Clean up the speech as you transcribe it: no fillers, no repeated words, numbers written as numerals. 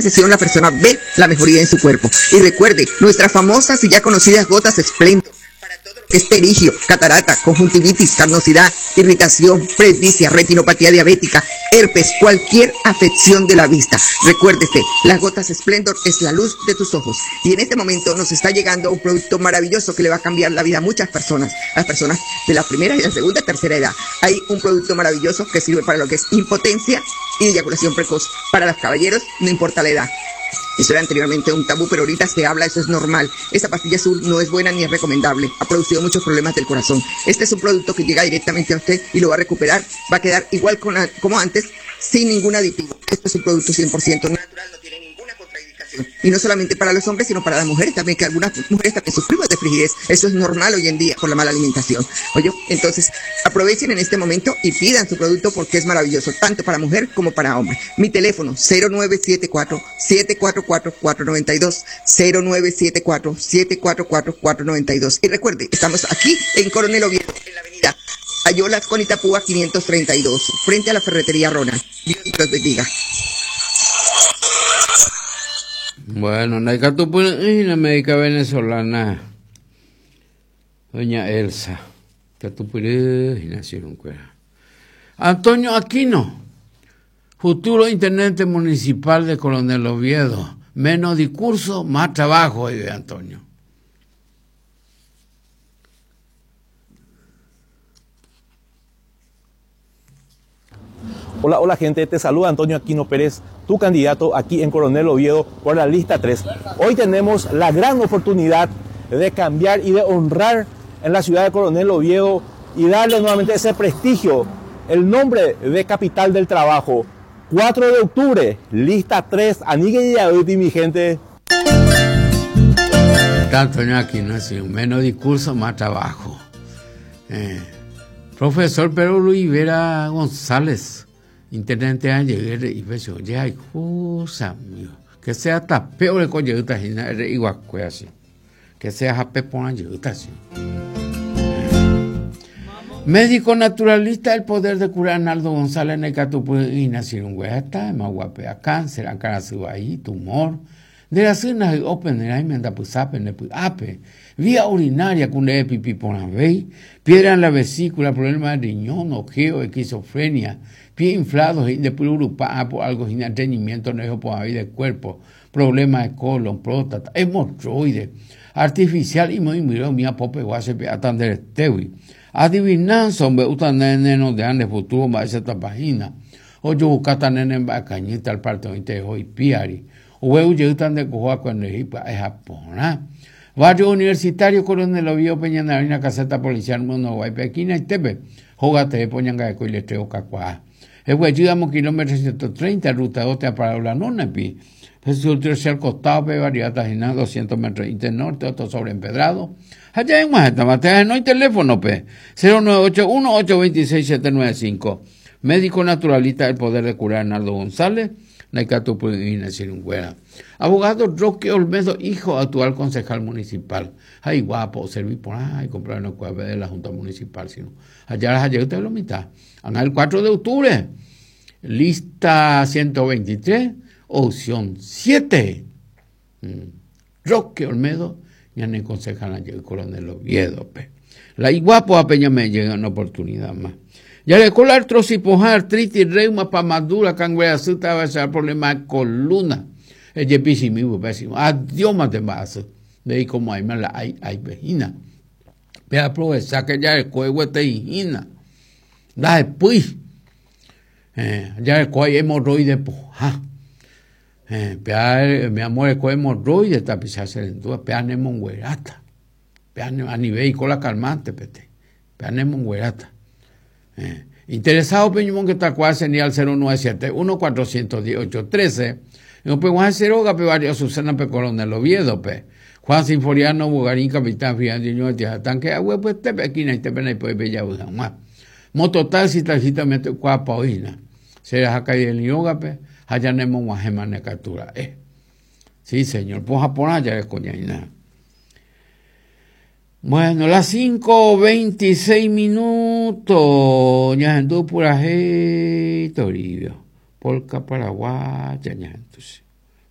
sesión la persona ve la mejoría en su cuerpo. Y recuerde, nuestras famosas y ya conocidas gotas Splendor para todo lo que es pterigio, catarata, conjuntivitis, carnosidad, irritación, presbicia, retinopatía diabética, herpes, cualquier afección de la vista. Recuérdese, las gotas Splendor es la luz de tus ojos. Y en este momento nos está llegando un producto maravilloso que le va a cambiar la vida a muchas personas, a las personas de la primera y la segunda, tercera edad. Hay un producto maravilloso que sirve para lo que es impotencia y eyaculación precoz. Para los caballeros, no importa la edad. Eso era anteriormente un tabú, pero ahorita se habla, eso es normal. Esa pastilla azul no es buena ni es recomendable. Ha producido muchos problemas del corazón. Este es un producto que llega directamente a usted y lo va a recuperar. Va a quedar igual como antes, sin ningún aditivo. Este es un producto 100% natural, no tiene ninguna contraindicación. Y no solamente para los hombres, sino para las mujeres también, que algunas mujeres también sufrimos de frigidez. Eso es normal hoy en día por la mala alimentación. Oye, entonces aprovechen en este momento y pidan su producto porque es maravilloso, tanto para mujer como para hombre. Mi teléfono, 0974 744 492, 0974 744 492. Y recuerde, estamos aquí en Coronel Oviedo, en la avenida Ayolas con Itapúa 532, frente a la ferretería Ronald. Dios los bendiga. Bueno, la médica venezolana, doña Elsa, Antonio Aquino, futuro intendente municipal de Coronel Oviedo. Menos discurso, más trabajo, dice Antonio. Hola, hola gente, te saluda Antonio Aquino Pérez, tu candidato aquí en Coronel Oviedo por la lista 3. Hoy tenemos la gran oportunidad de cambiar y de honrar en la ciudad de Coronel Oviedo y darle nuevamente ese prestigio, el nombre de capital del trabajo. 4 de octubre, lista 3, Anigue y mi gente. Antonio Aquino, así, menos discurso, más trabajo. Profesor Pedro Luis Vera González, intendente de Angeguer y Pecho, ya hay cosa, mío. Que sea tapeo de coño, igual que así. Que sea jape por Angeguer, así. Médico naturalista, el poder de curar Arnaldo González en el Catupu y nació un güey, está más guapea, cáncer, ahí, tumor. De la cena de open, el aime anda pues ape, ne pues ape. Vía urinaria con el pipí por la vei, piedra en la vesícula, problema de riñón, ojeo, esquizofrenia, pie inflado, de puro por algo sin entretenimiento, no por ahí del cuerpo, problema de colon, próstata, hemorroides, artificial y muy miró mi apope guase pe atender estewi. Adivinanza, hombre, uta nene no de ande futuro, ma esa tapajina. O yo buscata nene en cañita al parte de hoy piari. O eu tan de cojoa cuando es japona. Barrio Universitario Coronel Oviedo Peña Narina Caseta Policial Mundo Guaypequina y Tepe. Jogate Poñanga de Coiletreo Cacuá. El güey, kilómetro 130, ruta 2, te para la nona, pi. Jesús tercer costado, pe, variedad tajina, 200 metros norte, otro sobre empedrado. Allá en Guajeta, no hay teléfono, pe. 0981 826 795. Médico naturalista del poder de curar Arnaldo González. Abogado Roque Olmedo, hijo actual concejal municipal. Ay, guapo, servir por ahí, comprar una cueva de la Junta Municipal, sino allá las ayer usted lo mitad. El 4 de octubre, lista 123, opción 7. Roque Olmedo, ya no concejal ayer, Coronel Oviedo. Pe. La iguapo a Peña me llega una oportunidad más. Ya le cola artrosis, poja, artritis, reuma, pamadura, cangreazuta, va a ser problema de columna. El yepisi mi pésimo. Adiós, más de más. De ahí como hay mala, hay, hay vejina. Ve a aprovechar que ya el cuello está hijina. Da después. Ya el cuello hemorroide, poja. Mi amor, el cuello hemorroide está pisando en tu, pea nemonguerata. Pea a nivel y cola calmante, pete. Pea nemonguerata. Interesado Peñumón que está cual señal 0971 418 13. No pe Juan Ceroga pe barrio Susana pe Coronel Oviedo pe Juan Sinforiano Bugarín Capitán Fiandino de Tanque agua pues te pe aquí te pe pe bella uja Mototaxi taxita mete cuapa oína. Será acá el yoga pe allá nemo guajema ne captura. Sí, señor, pues Japón ya es coñaina. Bueno, las 5:26 minutos. Ñahendú puraje, Toribio. Polka paraguaya, ñahendú.